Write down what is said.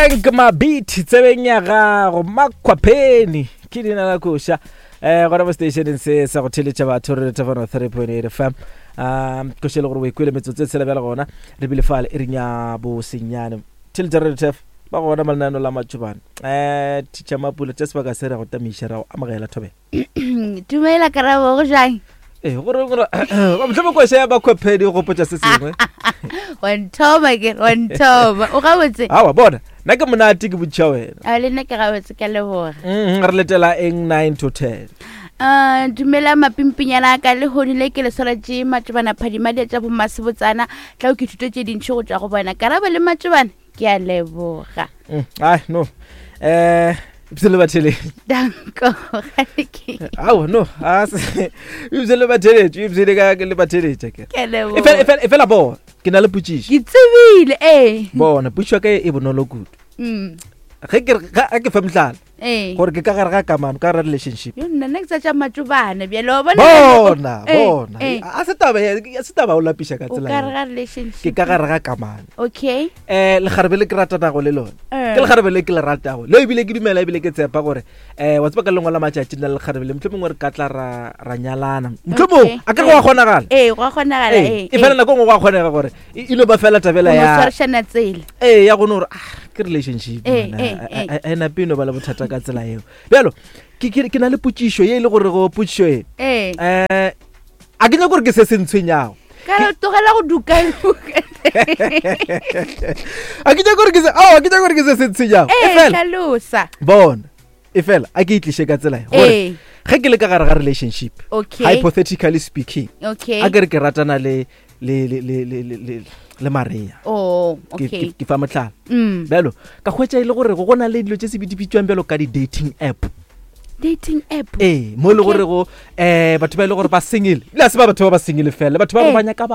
Frank Mabit tsebeng ya gago Makhwapheni ke leina la koša um gona mo stationeng se sa go theletša batho re lethafano 3.8 fm um koša e le gore o e kwele metsotso e tshela bjale gona re bile fale e reng ya bosenyane theletša re lethef ba gona malenano la matšobane um teacher Mapula tša sebaka se re go tamiša ra go amogela thobela Dumela Karabo, go jang? Ee, gore gore mohlomong koša ya Makhwapheni o gopotša se sengwe. Wa nthoma ke, wa nthoma. O gabotse? Awa bona, nna ke monate ke botšiša wena. A le nna ke gabotse ka leboga. Re letela eng 9 to 10? Uh, dumela mapimpinyana a ka lehono le ke le swaretše matšobana phadima di tša bomasebotsana tla o ke thuto tše dintšhi go tšwa go bona karabo le matšobana ke a leboga Ai no ebile le batheletši danko ao no ebile le batheletši ebile ka le batheletša ke e fela bona ke na le potšišo ke tsebile ee bona potšišo ka e bonolo kudu ge ke ke fe mohlala ee gore ke ka gare ga kamano ka gare relationship yo nna nna ke tsa tša matšobane bjale wa bona bona Eh, bona eh. a se taba ya- a se taba o lapiša ka o tsela ka yeo. re ga relationship ke ka gare ga kamano okay um lekgarebe le ke ratanago le lone Eh. ke lekgarebe le ke le ratago leo ebile ke dumela ebile ke tshepa gore um wa tseba ka lengwe la matšatši nna le lekgarebe le motlho mongwe re ka tla ra ra nyalana motlho mongwe Okay. a ke re go a kgonagala ee go a kgonagala Ee, ee e fela nako e nngwe go a kgonega gore e e no ba fela tabela ya swarišana tsela ee ya gone gore ah ke relationship Ee, man, ee, a- ee. a- a e nape e no ba le bothata ka tsela eo bjalo ke- ke ke na le potšišo ye e le gore go potšišo e ee um a ke nyako gore ke se se ntshwenyago ka re tlogela go dukaduka a ke nyako gore ke se ao a ke nyako gore ke se se ntshwenyago e ee fela hlalosa bona e fela a ke e tliše ka tsela e gore ee ge ke le ka gare ga relationship okay hypothetically speaking okay a ke re ke ratana le le le le le le le le Maria oh ke okay ke- ke fa mohlala mm bjalo ka hwetša e le gore go na le dilo tše se di bitswang bjalo ka di-dating app dating app ee mo e le Okay. gore go um batho ba e le gore ba single ebile a se ba batho ba ba single fela batho ba gore Eh. ba nyaka